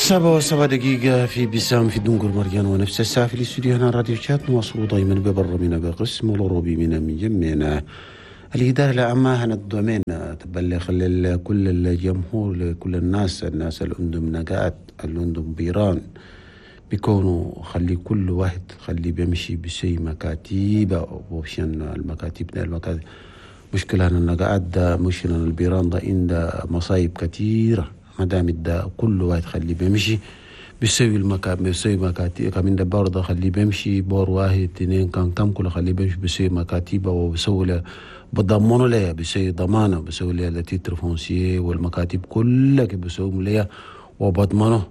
7:07 في بسام في دنقر مريان، ونفس الساعة في الاستوديو هنا راديو شات. نواصل دائما ببرنامجنا بقسم الأوروبي من جمعنا. الإدارة العامة هنا ال domaine تبلغ لكل الجمهور، لكل الناس اللي عندهم نقاط، اللي عندهم بيران، بيكونوا خلي كل واحد خلي بيمشي بشيء مكاتيب، وشان المكاتب ده المكاتب مشكلة أن النقاط ده، مشكلة أن البيران ده عنده مصايب كثيرة. ما دام ده كل واحد خلي بيمشي بيسوي المكان، بيسوي مكاتب كمان ده برضه خلي بيمشي بور واحد اثنين كان كم كله خلي بيمشي بيسوي مكاتب وبيسوي له بضمنوا له، بيسوي ضمانة، بيسوي له titre foncier والمكاتب كلها بيسوي له وبضمنه.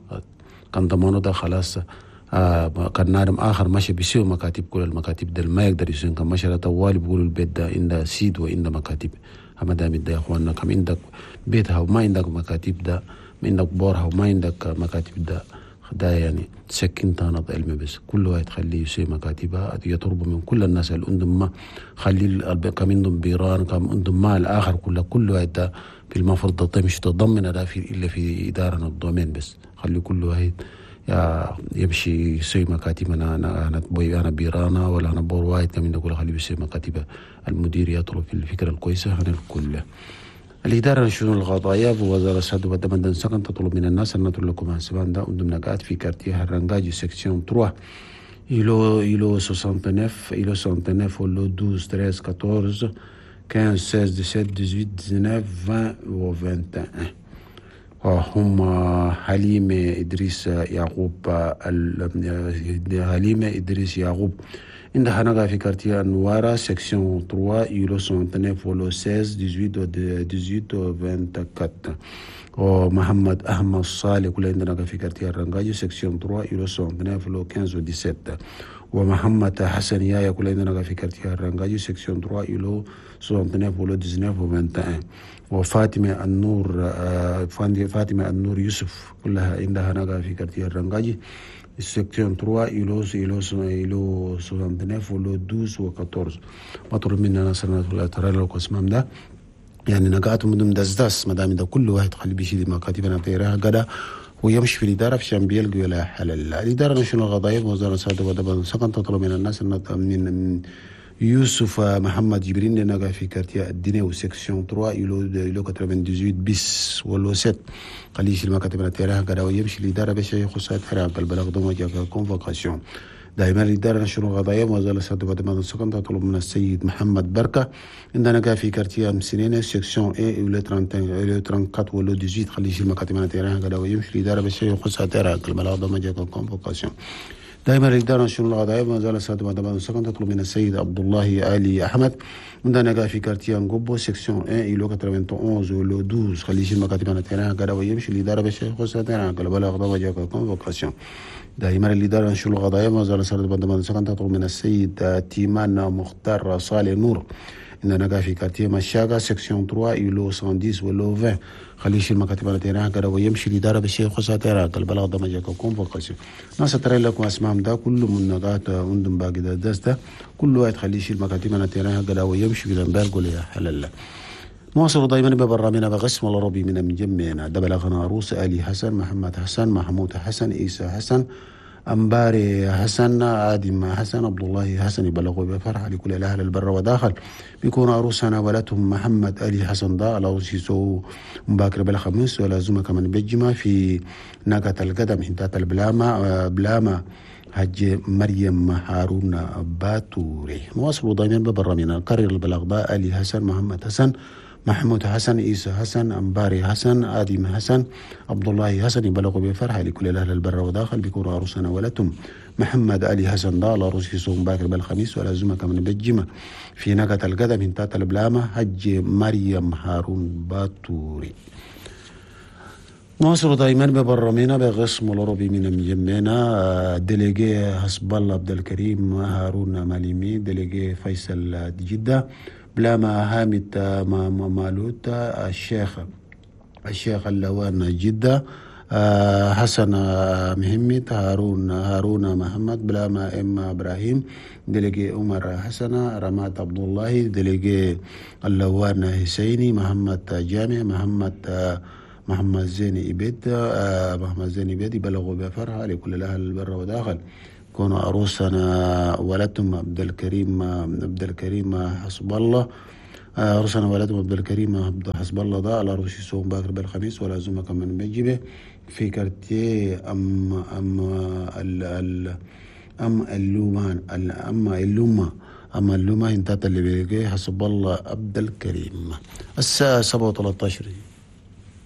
كان ضمانه ده خلاص. كان نادم آخر ماشي بيسوي مكاتب كل المكاتب ده ما يقدر يسوي. كان ماشي طوالي بيقولوا البيت ده عنده سيد وعنده مكاتب. أما دام ده يا إخواننا كم عندك بيتها وما عندك مكاتب ده، ما عندك بورها وما عندك مكاتب ده، ده يعني سكين تانط علمي بس. كل واحد خليه يسوي مكاتبها، يطلب من كل الناس اللي عندهم ما خلي كم عندهم بيران كم عندهم مال آخر كل واحد ده في المفروض تمشي تضمن ده في إلا في إدارة ال domaine بس. خلي كل واحد يمشي يسوي مكاتب. أنا أنا أنا أنا بيرانا ولا أنا بور واحد كم عندك خليه يسوي مكاتبة. المدير يطلب في الفكرة الكويسة عن الكل. الإدارة لشؤون القضايا بوزارة السد والدمدن سكن تطلب من الناس أن نطلب لكم سبان دا عندهم نقاط في quartier الرنجاجي section 3 îlot 69 îlot 69 ولا 12 13 14 15 16 17 18 19 20 و 21. هم حليمة إدريس يعقوب، حليمة إدريس يعقوب عندها نقا في quartier النوارة section 3 îlot 69 ولا 16 18 18 24. ومحمد أحمد صالح كل عندنا في quartier الرنجاجي section 3 îlot 69 ولا 15 و 17. ومحمد حسن يايا كل عندنا في quartier الرنجاجي section 3 îlot 69 ولا 19 و 21. وفاطمة النور، فاطمة النور يوسف كلها عندها نقا في quartier الرنجاجي section 3 îlot îlot 69 ولا 12 و 14. مطلوب منا ناس ترى لو قسمام ده يعني نقاط مدم دزدس ما دام ده كل واحد خلي بيشيل مكاتبنا تيرها قدا ويمشي في الإدارة في شان بيلقوا ولا حل. الإدارة نشون القضايا وزارة السادة ودبا سكن تطلب من الناس أن من يوسف محمد جبرين نقا في quartier الدنيا و section 3 îlot 98 bis ولا 7 خليه يشيل مكاتبنا تيرها قدا ويمشي الإدارة باش يخصها تيرها البلاغ دوما جاك convocation. دائما الإدارة نشر القضايا وزارة السادة ودبا سكن تطلب من السيد محمد بركة عندنا في quartier مسنينة section un îlot 31 îlot 34 ولا 18 خليه يشيل مكاتبنا تيرها قدا ويمشي الإدارة باش يخصها تيرها البلاغ دوما جاك convocation. دائما الإدارة نشر القضايا وزارة السادة ودبا سكن تطلب من السيد عبد الله آلي أحمد عندنا في quartier نقبو section 1 îlot 91 ولا 12 خليه يشيل مكاتبنا تيرها قدا ويمشي الإدارة باش يخصها تيرها البلاغ دوما جاك convocation. دائما الإدارة نشر القضايا وزارة السادة ودبا سكن تطلب من السيد تيمان مختار صالح نور عندنا في quartier مشاقة section 3 îlot 110 ولا 20 خليه يشيل مكاتب تيران كده ويمشي الإدارة باش يخصها تيران البلاغ ده ما جاك convocation. ناس ترى لكم اسمهم ده كله من نقاط عندهم باقي ده ده كل واحد خليه يشيل مكاتب تيران كده ويمشي في الامبارجو يا حلال. نواصل دائما ببرنامجنا بقسم العربي من جمعنا ده بلغنا عروس آلي حسن محمد حسن محمود حسن عيسى حسن أمباري حسن آدم حسن عبد الله حسن يبلغوا بفرحة لكل الأهل البر وداخل بيكون عروسنا ولدهم محمد علي حسن دا لو سيسو مباكر بالخميس ولا زوما كمان بجمع في ناقة القدم هنتات البلامة بلامة حج مريم هارون باتوري. نواصل دائما ببرنامجنا نكرر البلاغ دا علي حسن محمد حسن محمود حسن عيسى حسن أمباري حسن آدم حسن عبد الله حسن يبلغوا بفرحة لكل الأهل البر وداخل بيكون عروسنا ولدهم محمد علي حسن دا عروس يصوم باكر بالخميس ولا زوما كمان بالجمع في ناقة القدم هنتات البلامة حج مريم هارون باتوري. نواصل دائما ببرنامجنا بقسم العربي من مجمعنا délégué حسب الله عبد الكريم هارون ماليمي délégué فيصل جدة بلاما هامد مالوت الشيخ اللوان جدة حسن مهمت هارون محمد بلاما ام ابراهيم délégué عمر حسن رماد عبد الله délégué اللوان حسيني محمد جامع محمد محمد زين إبيد، محمد زين إبيد يبلغوا بفرحة لكل الأهل البر وداخل كونوا عروسنا ولدتم عبد الكريم، عبد الكريم حسب الله. عروسنا ولدتم عبد الكريم عبد حسب الله ده العروس يسوم باكر بالخميس ولا كمان بيجيبه في quartier ام ام ال ال ام اللومان ام اللومه ام اللومه انتات اللي بيجي حسب الله عبد الكريم. الساعة 7:13.